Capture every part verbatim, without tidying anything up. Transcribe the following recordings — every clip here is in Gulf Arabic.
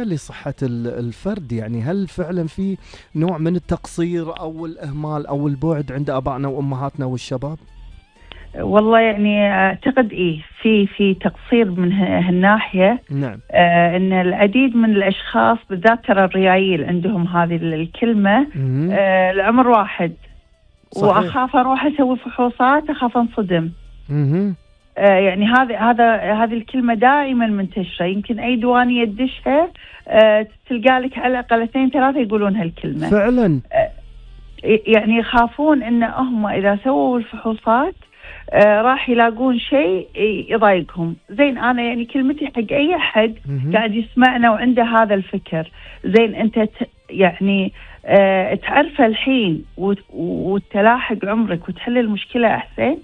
لصحة ال- الفرد، يعني هل فعلا في نوع من التقصير أو الإهمال أو البعد عند آبائنا وأمهاتنا والشباب؟ والله يعني اعتقد ايه في في تقصير من ه- هالناحيه. نعم. آه ان العديد من الاشخاص بالذات ترى الريايل عندهم هذه ال- الكلمه. مهم. آه العمر واحد، صحيح. واخاف اروح اسوي فحوصات، اخاف انصدم. مهم. آه يعني هذا هذا هذه الكلمه دائما منتشره، يمكن اي ديوانيه تدشها آه تلقى لك على الاقل اثنين ثلاثه يقولون هالكلمه. فعلا. آه يعني يخافون ان هم اذا سووا الفحوصات آه راح يلاقون شيء يضايقهم. زين انا يعني كلمتي حق اي احد مهم. قاعد يسمعنا وعنده هذا الفكر، زين انت ت يعني آه تعرفه الحين وت- وتلاحق عمرك وتحل المشكله احسن،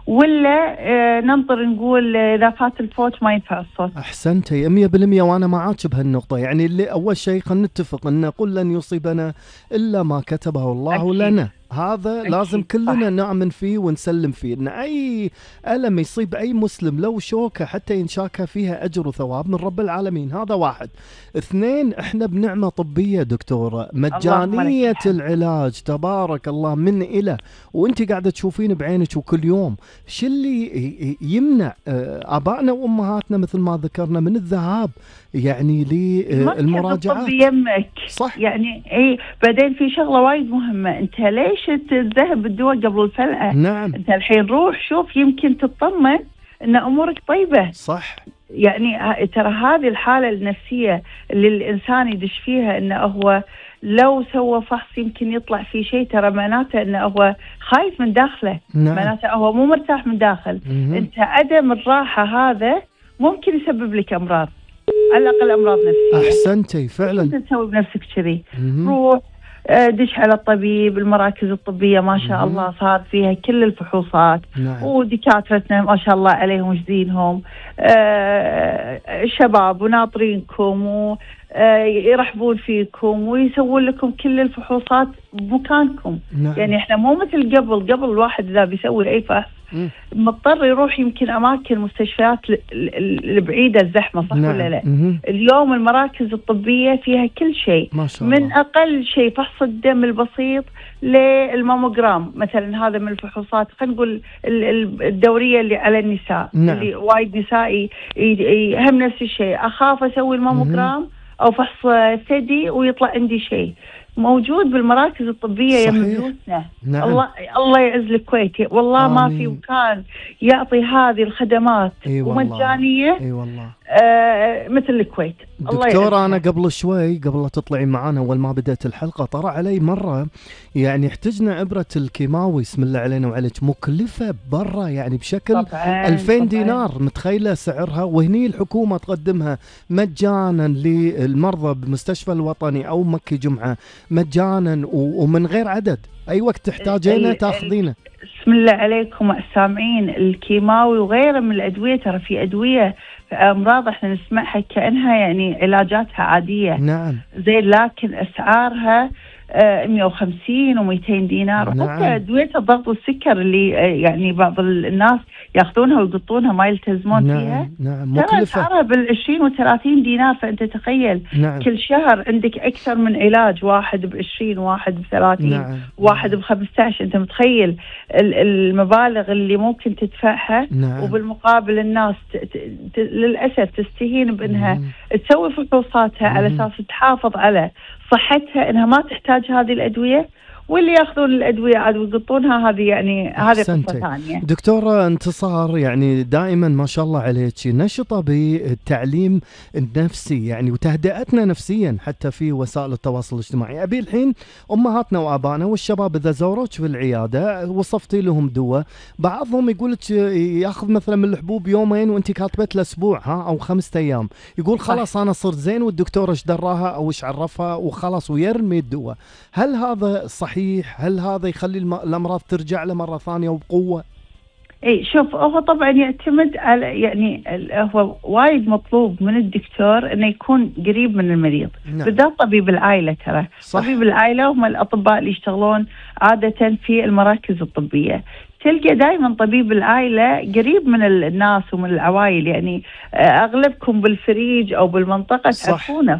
ولا آه ننطر نقول اذا فات الفوت ما ينفع الصوت؟ أحسنتي مية بالمية، وأنا معاك بهالنقطة. يعني اللي أول شيء خلينا نتفق أن قل لن يصيبنا إلا ما كتبه الله أكيد. لنا، هذا أكيد. لازم كلنا صح. نؤمن فيه ونسلم فيه، ان اي ألم يصيب اي مسلم لو شوكة حتى ينشاكها فيها اجر وثواب من رب العالمين. هذا واحد. اثنين، احنا بنعمة طبية دكتورة، مجانية العلاج تبارك الله من إلى، وانت قاعدة تشوفين بعينك وكل يوم. شو اللي يمنع آبائنا وامهاتنا مثل ما ذكرنا من الذهاب يعني للمراجعات؟ الطب يمك. صح. يعني اي بعدين في شغله وايد مهمه، انت ليش تذهب بالدواء قبل الفلقه؟ نعم. انت الحين روح شوف يمكن تطمن ان امورك طيبه. صح. يعني ترى هذه الحاله النفسيه اللي الانسان يدش فيها، انه هو لو سوى فحص يمكن يطلع فيه شيء، ترى معناته انه هو خايف من داخله. نعم. معناته هو مو مرتاح من داخل. مم. انت عدم الراحه هذا ممكن يسبب لك امراض، على الاقل امراض نفسيه. احسنتي فعلا. انت تسوي بنفسك كذي، روح آه، دش على الطبيب. المراكز الطبيه ما شاء مم. الله صار فيها كل الفحوصات. نعم. ودكاترتنا ما شاء الله عليهم جزينهم آه، شباب وناطرينكم ويرحبون فيكم ويسوون لكم كل الفحوصات بمكانكم. نعم. يعني احنا مو مثل قبل. قبل الواحد اذا بيسوي اي فحص مم. مضطر يروح يمكن اماكن مستشفيات البعيده الزحمه، صح؟ نعم. ولا لا؟ مم. اليوم المراكز الطبيه فيها كل شيء، ما شاء من الله. اقل شيء فحص الدم البسيط للماموجرام مثلا. هذا من الفحوصات خلينا نقول الدوريه اللي على النساء. نعم. اللي وايد نساء هم نفس الشيء، اخاف اسوي الماموجرام او فحص ثدي ويطلع عندي شيء. موجود بالمراكز الطبيه يا بيوتنا. نعم. الله الله يعز الكويت، والله آمين. ما في مكان يعطي هذه الخدمات أي والله. ومجانيه اي والله. آه مثل الكويت. دكتورة أنا قبل شوي قبل لا تطلعي معانا أول ما بدأت الحلقة طرأ علي مرة يعني احتجنا إبرة الكيماوي بسم الله علينا وعليك مكلفة برا يعني بشكل ألفين دينار، متخيلة سعرها؟ وهني الحكومة تقدمها مجانا للمرضى بمستشفى الوطني أو مكي جمعة مجانا ومن غير عدد. أي وقت تحتاجينه تاخذينه. بسم الله عليكم السامعين، الكيماوي وغيره من الأدوية، ترى في أدوية أمراض احنا نسمعها كأنها يعني علاجاتها عادية. نعم. زين، لكن أسعارها آه مئة وخمسين ومئتين دينار. نعم. وحتى أدوية الضغط والسكر اللي آه يعني بعض الناس ياخذونها ويقطونها ما يلتزمون نعم. فيها. نعم. ترى أسعارها بالعشرين وثلاثين دينار. فأنت تخيل نعم. كل شهر عندك أكثر من علاج، واحد بعشرين، واحد بثلاثين، نعم. واحد بخمسة. أنت متخيل المبالغ اللي ممكن تدفعها؟ نعم. وبالمقابل الناس ت... ت... ت... للأسف تستهين بأنها مم. تسوي فحوصاتها على أساس تحافظ على صحتها، أنها ما تحتاج هذه الأدوية، واللي ياخذون الأدوية عاد ويقطونها هذه يعني هذه قصة ثانية. دكتورة انتصار يعني دائما ما شاء الله عليك نشطة بالتعليم النفسي يعني وتهدئتنا نفسيا حتى في وسائل التواصل الاجتماعي. أبي الحين أمهاتنا وآبائنا والشباب إذا زوروك في العيادة وصفتي لهم دواء، بعضهم يقولك ياخذ مثلا من الحبوب يومين وانت كاتبت له أسبوع ها أو خمسة أيام، يقول خلاص أنا صرت زين والدكتور ايش دراها أو ايش عرفها وخلاص ويرمي الدواء. هل هذا صحيح؟ هل هذا يخلي الأمراض ترجع له مرة ثانية وبقوة؟ اي شوف، هو طبعا يعتمد على يعني هو وايد مطلوب من الدكتور انه يكون قريب من المريض. نعم. بالذات طبيب العائلة. ترى طبيب العائلة هم الأطباء اللي يشتغلون عادة في المراكز الطبية. تلقى دائما طبيب العائلة قريب من الناس ومن العوائل. يعني أغلبكم بالفريج أو بالمنطقة تعرفونه.